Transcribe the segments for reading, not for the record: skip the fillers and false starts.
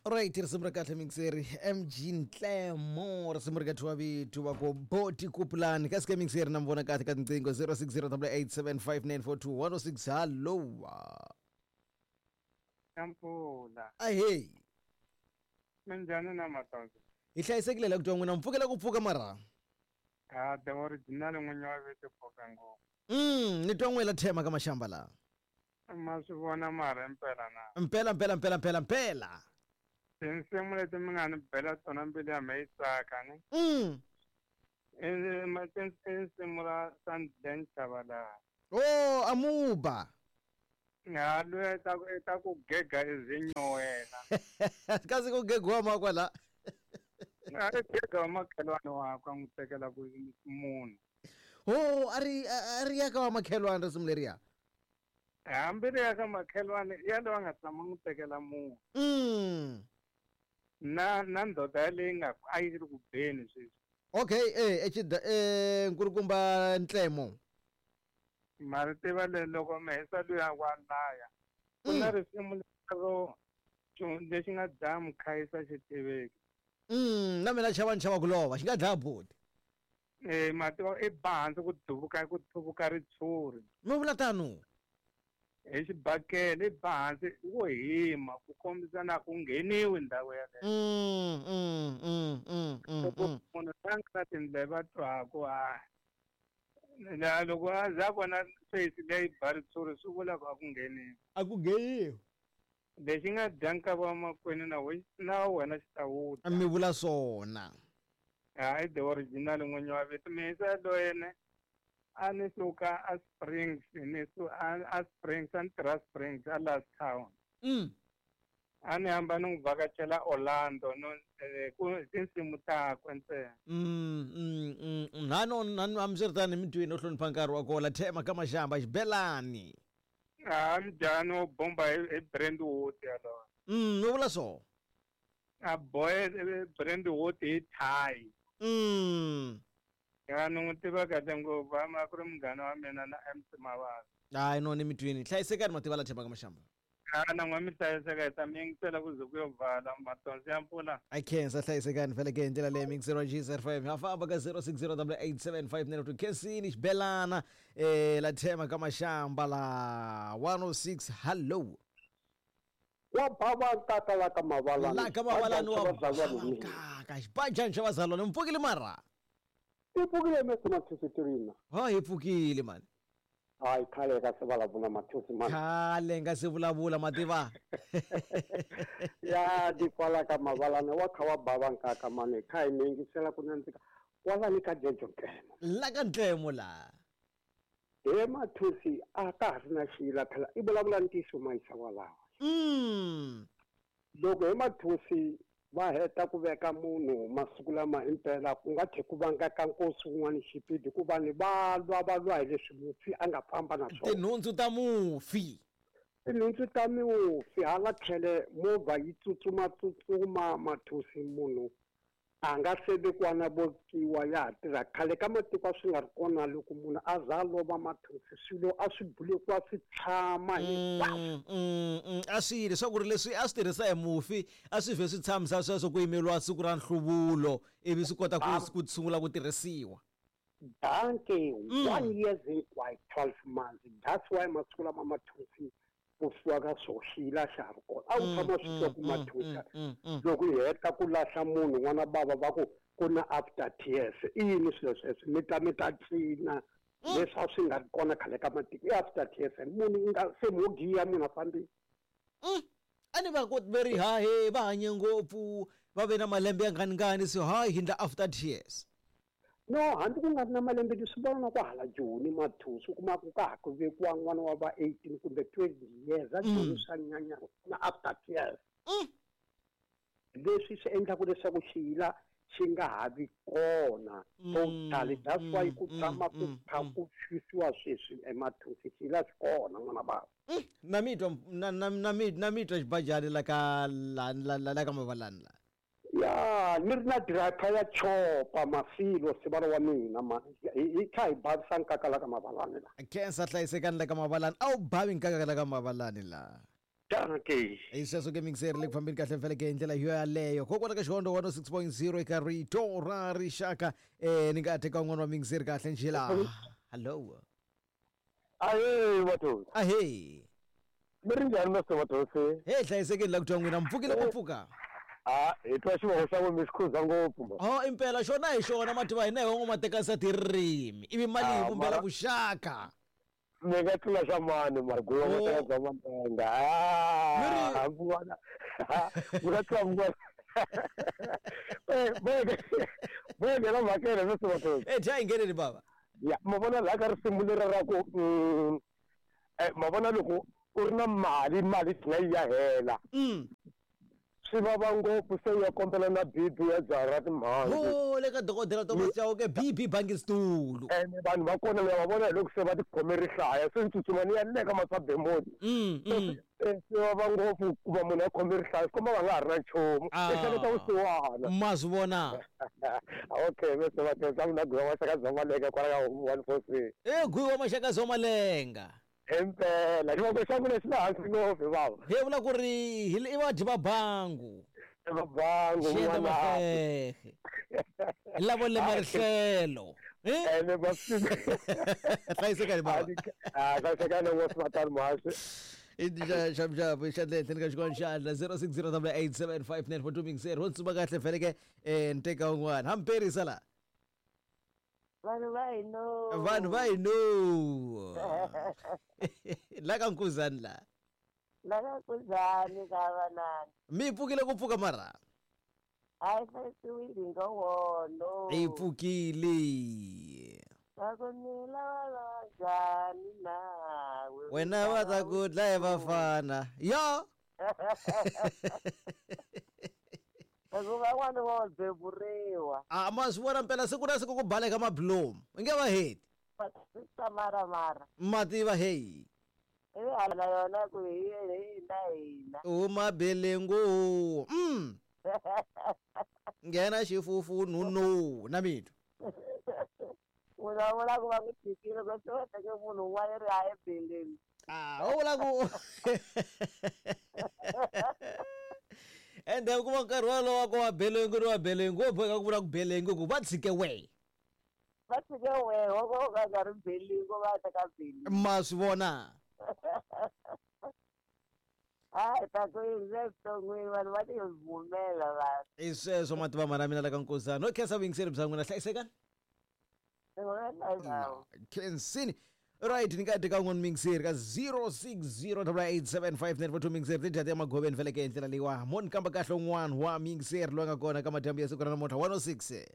Right, risimu ra kahle mixeri MG Ntlemo, risimu ri ka thiwa vito va ku Boti Kupulani ka sike mixeri na mi vona kahle ka tinqingho 0608875942 106. Hallo. Mpfula. Ahey. Minjhani na matondzo? Hi hlayisekile la ku twa n'wina mpfukela ku pfuka mara. Ha the original n'winyi wa vito pfuka ngopfu. Ni twa n'wela thema ka mashamba la. Ma swi vona mara impela na. Mpela mpela mpela mpela mpela. Tinsimu leti mi nga ni bela tona mbilu ya me yi tsaka ni. I nsimu ra Sandlen Chabalala. Oh, amuba. Ha loyi ta ku ta ku gega izinyowela. Kasi ku gegiwa makwa la. A ri gega wa makhelwani wakwe a n'wi tekela ku munhu. Oh, a ri a ri ya ka wa makhelwani risimu leriya. Hambi ri ya ka makhelwani ya loyi a nga tshama n'wi tekela munhu. Na ndoda yaleyi nga a yi ri ku beni sweswi. Okay, eh echida eh nkulukumba Ntlemo. Ma ri tiva le loko mi hisa luya wa laya. Ku na risimu lero lexi nga dlaya mukhayisa xi tiveki. Na mina chava ni chava ku lova, xi nga dlaya boti. Eh ma tiva i ba hansi ku duvuka ku thuvuka ritshuri. Mi vula tano? Hi xibakele i ba hansi wo hima ku kombisa na ku ngheniwi ndhawu yaleyo. Loko munhu la nga na tindleve a twaku a la loko a za vona face leyi ba ritshuri swi vula ku a ku ngheniwi. A ku ngheniwi. Lexi nga dya nkava wa makwenu na we na wena xi ta wu dya. Mi vula swona. Hayi the original n'winyi wa vito mihisa yaloye a ni suka a Springs ni su a Springs a ni tirha Springs a last town. A ni hamba ni n'wi vhakachela Orlando no ku tinsimu takwe ntsena. Ha no hambiswiritano mi twini u hlonipha nkarhi wa kola thema ka maxamba xibelani. Ha mjhani wo bomba hi Brentwood yaloye. U vula so. A boye Brentwood hi thayi. Ya ni n'wi tiva kahle ngopfu a ku ri munghana wa mina na MC Mavasa. Hayi no ni mi twini hlayisekani mativa la thema ka maxamba. Ha na n'we mi hlayiseka hi ta mi yingisela ku ze ku yo vala matondzo ya mpfula. I khensa hlayisekani vhele ke hi ndlela leyi mixeriwa GSR5 ha famba ka 0608875902 khensini xibelana la thema ka maxamba la 106. Hallo. Wa bava nkaka la ka mavalani. La ka mavalani wa nkaka xibajani xa vazalwane mpfukile mara. I pfukile mese mathusi tirina. Ha hi pfukile mani. Hayi khale ka se vulavula mathusi mani. Khale nga se vulavula mativa. Ya di kwala ka mavalani wa kha wa bava nkaka mani kha hi mi yingisela ku nandzika kwalani ka Jejo Ntlemo. La ka Ntlemo la. He mathusi a ka ha ri na xiyila phela i vulavula ntiyiso mayisa walawa. Loko he mathusi va heta ku veka munhu masiku lama impela ku nga tlhe ku vanga ka nkosi wun'wana xipidi ku vanhu va lwa va lwa hi leswi mufi a nga famba na swona. Tinhundzu ta mufi. Tinhundzu ta mufi hala tlhele movha yi tsutsuma tsutsuma mathusi munhu a nga se vekiwa na vokiwa ya ha tirha. Khale ka matiko a swi nga ri kona loko munhu a za a lova mathusi swilo a swi bulekiwa swi tshama hinkwaswo. A swi yile swa ku ri leswi a swi tirhisa hi mufi a swi vhe swi tshamisa sweswo ku yimeriwa siku ra nhluvulo ivi swi kota ku sungula ku tirhisiwa. Danke, 1 year hinkwayo 12 months. That's why masiku lama mathusi ku fiwa ka swo xiyila xa ha ri kona. A wu tshama swi twa ku mathusa loko hi heta ku lahla munhu n'wana bava va ku ku na after tears. I yini swilo sweswo mi ta mi ta cina leswi a swi nga ri kona khale ka matiko i after tears munhu nga se mo giya munhu a fambile. A ni va ku ve ri hahe va hanye ngopfu va ve na malembe ya nganingani so hayi hi ndla after tears. No hambi ku nga ri na malembe leswi vona na ku hala Joni mathusi u kuma ku ka ha ku vekiwa n'wana wa va 18 kumbe 20 years a Joni swa nyanya na after tears. Leswi swi endlaku leswaku xiyila xi nga ha vi kona totally. That's why ku tshama ku kha ku xisiwa sweswi emathusi xiyila xi kona n'wana bava. Na mi twa na na na mi na mi twa xibajani la ka la la la ka mavalani la. Ya ni ri na driver ya chopa mafilo sivalo wa mina mani hi kha hi bavisa nkaka la ka mavalani la. Khensa hlayisekani la ka mavalani a wu bavi nkaka la ka mavalani la. Dankie. Hi sweswo ke mixeri le ku fambeni kahle feleke hi ndlela yo yaleyo kokwala ka Xihondzo 106.0 eka Rito ra Rixaka. Ni nga teka un'wana wa mixeri kahle njhe la. Hallo. Ahe Mathosi. Ahe. Mi ri njhani Master Mathosi? He hlayisekeni la ku twa n'wina mpfukile ku pfuka. Ah, hi twa xivongo xa n'wina mi xi khuza ngopfu ma. Oh impela xona hi xona mativa hina hi van'wana tekasa tirimi ivi mali hi vumbela vuxaka. Mi nga tlula xa mani mara guwa Oh. mateka bya malenga. Ah, vona. Mi nga tlula vona. Eh, boye. Boye la makere Master Mathosi. Eh dya hi ngheneni baba. Ya, ma vona laha ka risimu leri ra ku ma vona loko u ri na mali mali tlhela yi ya hela. Swi vava ngopfu se u ya kombela na BP ya jaha ra timhandzi. Oh le ka dokodela Thomas Chauke BP bangi situlu. Ene vanhu va kona ya va vona hi loko se va tikhome rihlaya se ni tsutsuma ni ya le ka masabemoni. Swi vava ngopfu ku va munhu a khome rihlaya swi komba va nga ha ri na nchumu. Ehleketa vusiwana. Ma swi vona. Okay, Mr. Mathosi, a ku na Gwiwa Maxaka bya Malenga kwala ka 146. Eh Gwiwa Maxaka bya Malenga. Impela xivongo xa mina xi le hansi ngopfu baba. Hi vula ku ri hi i vadyi va bangu. Va bangu Xiendla mafehe. Lavo lema rihlelo. Ene va Hlayisekani baba. Ah, hlayisekani ngopfu matani muhaxi. Xavuxavu xandla ehenhleni ka xikolo xandla 0608875942 mixer ho tsuma kahle feleke ni teka un'wana hamperisa la. Vanhu va hino. Vanhu va hino. La ka Nkuzani la. La ka Nkuzani ka vanani. Mi pfukile ku pfuka mara? Hayi hlayisiwile hi ngowono. Hi pfukile. Va ku ni lava lava njhani nawe? Wena va ta ku dlaya vafana. Yo. Hikuva van'wana vo beburiwa. Ah, ma swi vona mpela siku na siku ku baleka mabilomu. I nge va heti. Ta mara mara. Ma tiva hey. Ivi hala yona ku hi hina hina. Huma belengu. Nghena xifufu nunu na mitwa. Munhu a vula ku va n'wi tshikile ku se va teke munhu un'wana ri haya ebeleni. Ah, u vula ku ende kuma nkarhi wolowo ku wa belengu ni wa belengu wo boheka ku vula ku belengu ku va tshike wehe. Va tshike wehe wo ka u nga nga ri belengu va teka belengu. Ma swi vona. Hayi ta ku yindze evuton'wini vanhu va ti vumela vanhu. I sweswo mativa mara mina la ka Nkuzani. No khensa vuyingiseri bya n'wina hlayisekani. Khensini. Right, ni nga teka un'wana mixeri ka 0608875942 mixeri ti dya ya magoveni feleke hi ndlela leyiwa. Mo ni kamba kahle un'wana wa mixeri loyi nga kona ka madyambu ya siku ra namuntlha 106.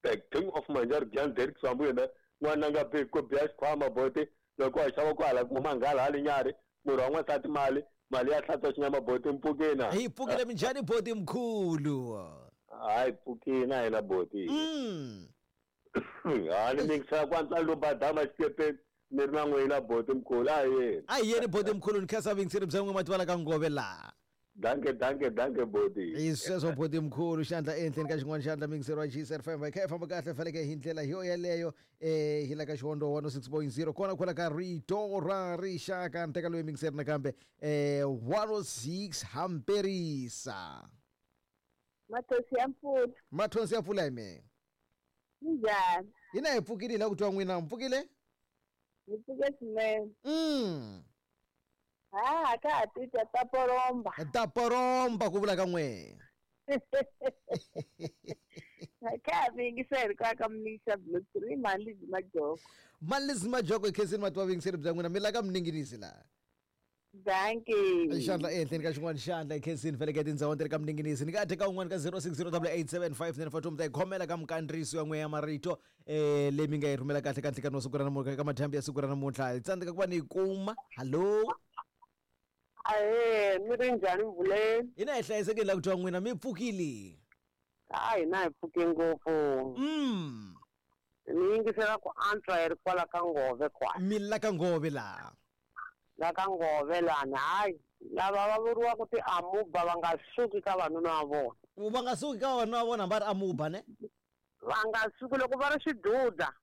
The king of Manjari Jan Derek Sambu yena n'wana nga bi ku biya xikhwama boti loko a xava ku hala kuma nghala hali nyari murhi wa n'wansati mali mali ya hlantswa xinyama boti mpfukina. Hi pfukile minjhani boti mkhulu? Hayi pfukina hina boti. Ha ni mixera ku antswa lo badama xikepeni ni ri na n'wina boti mkhulu a yeni. A hi yeni boti mkhulu ni khensa vuyingiseri bya n'wina mativa la ka Ngove laha. Danke danke danke boti. Hi sweswo boti mkhulu xandla ehenhleni ka xin'wana xandla mixeri wa GCR FM hi kha hi famba kahle feleke hi ndlela yo yaleyo hi la ka Xihondzo 106.0 kona kwala ka Rito ra Rixaka ni teka loyi mixeri nakambe 106 hamperisa. Mathonsi ya mpfula. Mathonsi ya mpfula hi mehe. Njhani? Hina hi pfukile la ku twa n'wina mpfukile? Hi pfuke swinene. Ha ka ha titwa ta poromba. Ta poromba ku vula ka n'we. Ka ha vuyingiseri ka ka Mningisa Blue 3 Malizi Majoko. Malizi Majoko hi khensini mativa vuyingiseri bya n'wina mi la ka Mninginisi laha. Dankie. Xandla ehenhleni ka xin'wana xandla hi khensini feleke tindhawu ti ri ka Mninginisi ni nga teka un'wana ka 0608875942 mi ta yi khomela ka mikandziyiso ya n'we ya marito leyi mi nga yi rhumela kahle ka ntlhekani wa siku ra namuntlha ka madyambu ya siku ra namuntlha hi tsandzeka ku va ni yi kuma. Hallo. Ahee, mi ri njhani Mvuleni? Hina hi hlayisekile la ku twa n'wina mi pfukile. A hina hi pfuke ngopfu. Ni yingisela ku antswa hi ri kwala ka Ngove kwala. Mi la ka Ngove laha. La ka Ngove lana hayi lava va vuriwaka ti-amuba va nga suki ka vanuna va vona. Va nga suki ka vanuna va vona hambi va ri amuba ne? Va nga suki loko va ri swiduda.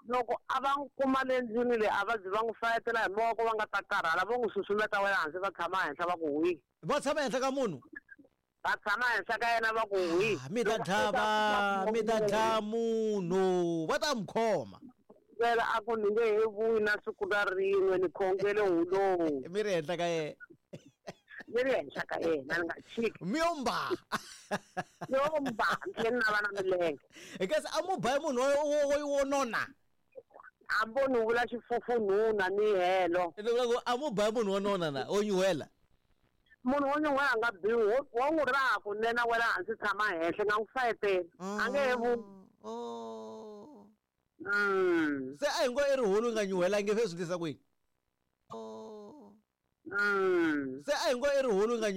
Loko a va n'wi kuma le ndlwini leyi a va zi va n'wi fayetela hi mavoko, va nga ta karhala, vo n'wi susumeta wa le hansi, va tshama henhla va ku hwi. Va tshama henhla ka munhu? Va tshama henhla ka yena va ku hwi. Ah, mi ta dlava, mi ta dlaya munhu, va ta mi khoma. Vela a ku ni nge he vuyi na siku na rin'we, ni khongele hulowu. Mi ri henhla ka yena. Ni ri henhla ka yena, ni nga chiki. Mi yo mba. Yo mba, ni tlhela ni nava na milenge. Kasi a mu ba munhu wo nona. Hambi ni vula xifufunhuna ni helo. Ni vula ku a mu ba munhu wo nona na, wo nyuhela. Munhu wo nyuhela a nga biwi, wo n'wi raha kunene a wela hansi tshama henhla, nga n'wi fayeteli. A nge he vuyi. Se a hi ngo i rihulu nga nyuhelangi, se swi tisa ku yini? Se a hi ngo i rihulu nga